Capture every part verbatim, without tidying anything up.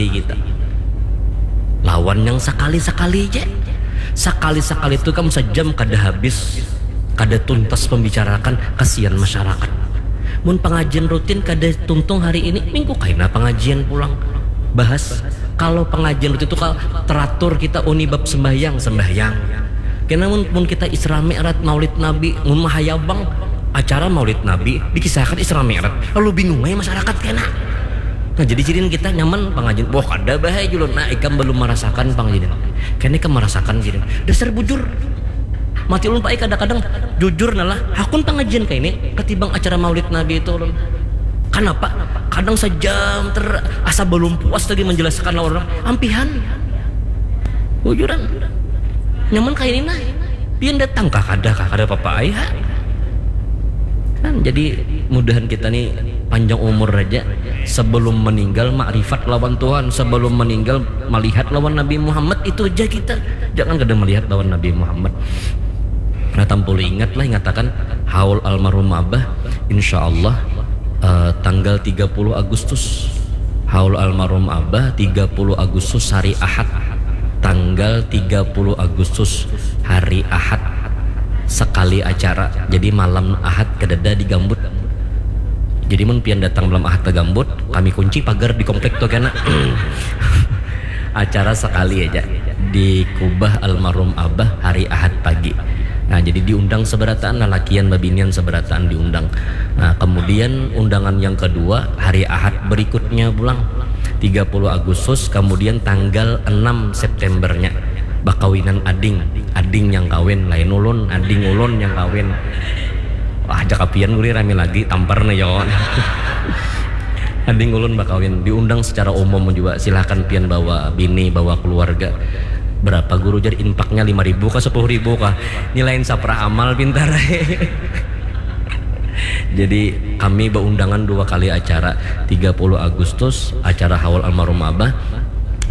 kita. Lawan yang sakali-sakali je. Sakali-sakali tu kam sajam kada habis, kada tuntas pembicarakan, kasihan masyarakat. Mun pangajian rutin kada tuntung hari ini, minggu kaina pangajian pulang. Bahas, kalau pangajian rutin tu ka-, teratur kita, uni bab sembahyang, sembahyang. Kena mun, mun kita Isra Mi'raj, Maulid Nabi, mun mahayabang acara Maulid Nabi, dikisahkan Isra Mi'raj, lalu bingung aja masyarakat kena. Nah, jadi sidin kita nyaman pangajian. Wah, kada bahaya julun. Nah, ikam belum merasakan pangajian. Kena ikam merasakan sidin. Dasar bujur. Mati ulun, Pak, ai, kadang-kadang jujur nah lah. Hakun pangajian kaini ketimbang acara Maulid Nabi itu ulun. Kenapa? Kadang sejam ter asa belum puas lagi menjelaskan lawan orang. Ampihan. Bujuran. Nyaman kaini nah. Pian datang kah, kada kah, kada apa-apa ai ha. Kan jadi mudahan kita nih panjang umur aja, sebelum meninggal makrifat lawan Tuhan, sebelum meninggal melihat lawan Nabi Muhammad, itu aja kita. Jangan kada melihat lawan Nabi Muhammad. Nah, tampulu ingat lah, ingatakan haul almarhum abah, insya Allah, eh, tanggal tiga puluh Agustus. Haul almarhum abah tiga puluh Agustus, hari Ahad. Tanggal tiga puluh Agustus, hari Ahad, sekali acara. Jadi malam Ahad kadada di Gambut. Jadi mun pian datang malam Ahad ke Gambut, kami kunci pagar di komplek tu kena. Acara sekali aja di kubah almarhum abah hari Ahad pagi. Nah, jadi diundang seberataan, lalakian babinian seberataan diundang. Nah, kemudian undangan yang kedua hari Ahad berikutnya pulang, tiga puluh Agustus, kemudian tanggal enam Septembernya bakawinan ading, ading yang kawin, lain ulun, ading ulun yang kawin. Wah, ajak apian guri rami lagi, tampar nih yo. Ading ulun bakawin, diundang secara umum juga, silahkan pian bawa bini, bawa keluarga. Berapa guru, jar, infaknya lima ribu kah, sepuluh ribu kah? Ini lain saprah amal, pintar. Jadi kami beundangan dua kali acara, tiga puluh Agustus acara haul almarhum abah,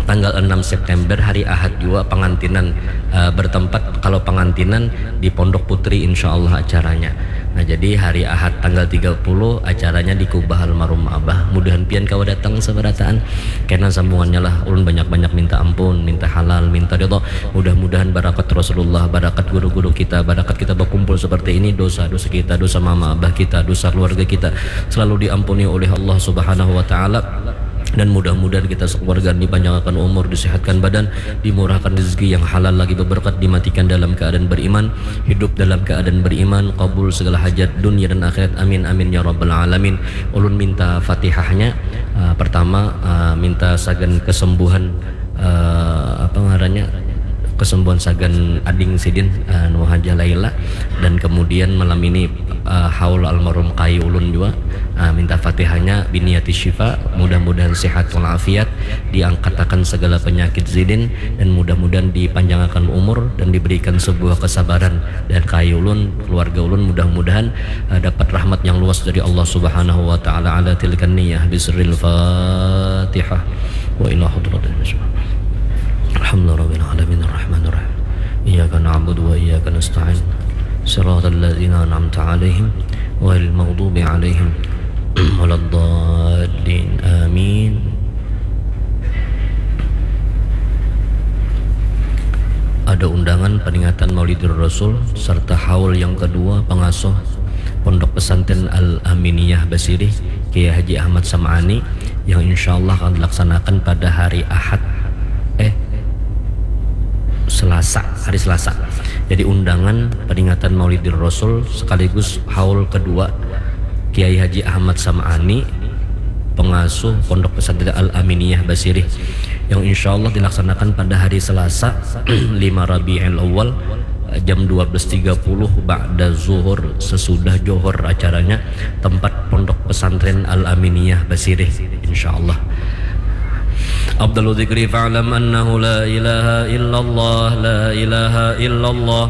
tanggal enam September hari Ahad juga pengantinan, eh, bertempat, kalau pengantinan di Pondok Putri insya Allah acaranya. Nah, jadi hari Ahad tanggal tiga puluh acaranya di kubah almarhum abah. Mudahan pian kawa datang seberataan. Kena sambungannya lah, ulun banyak-banyak minta ampun, minta halal, minta ridho. Mudah-mudahan barakat Rasulullah, barakat guru-guru kita, barakat kita berkumpul seperti ini, dosa-dosa kita, dosa mama abah kita, dosa keluarga kita selalu diampuni oleh Allah Subhanahu wa Ta'ala. Dan mudah-mudahan kita sekeluarga dipanjangkan umur, disehatkan badan, dimurahkan rezeki yang halal lagi berberkat, dimatikan dalam keadaan beriman, hidup dalam keadaan beriman, kabul segala hajat dunia dan akhirat. Amin, amin, ya rabbal alamin. Ulun minta fatihahnya, uh, pertama, uh, minta sagan kesembuhan, uh, apa ngarannya, kesembuhan sagan ading sidin, uh, Nur Hajah Laila, dan kemudian malam ini, uh, haul almarhum kai ulun juga, uh, minta fatihahnya, biniyati syifa, mudah-mudahan sehat walafiat, diangkatakan segala penyakit sidin, dan mudah-mudahan dipanjangakan umur dan diberikan sebuah kesabaran, dan kai ulun, keluarga ulun, mudah-mudahan, uh, dapat rahmat yang luas dari Allah Subhanahu wa Ta'ala. Ala tilkan niyah, bisirril Fatihah. Wa ila hadratin. Alhamdulillahirabbil alamin, arrahmanirrahim. Iyyaka na'budu wa iyyaka nasta'in. Siratal ladzina an'amta 'alaihim, ghairil maghdubi 'alaihim waladdallin. Amin. Ada undangan peringatan Maulidur Rasul serta haul yang kedua pengasuh Pondok Pesantren Al Aminiyah Basirih, Kiai Haji Ahmad Sam'ani, yang insya Allah akan dilaksanakan pada hari Ahad, eh, Selasa, hari Selasa. Jadi undangan peringatan Maulidur Rasul sekaligus haul kedua Kiai Haji Ahmad Sam'ani, pengasuh Pondok Pesantren Al Aminiyah Basirih, yang insya Allah dilaksanakan pada hari Selasa, lima Rabiul Awal, jam dua belas tiga puluh ba'da zuhur, sesudah johor acaranya, tempat Pondok Pesantren Al Aminiyah Basirih, insya Allah. Afdalu dzikri fa'lam annahu la ilaha illallah, la ilaha illallah.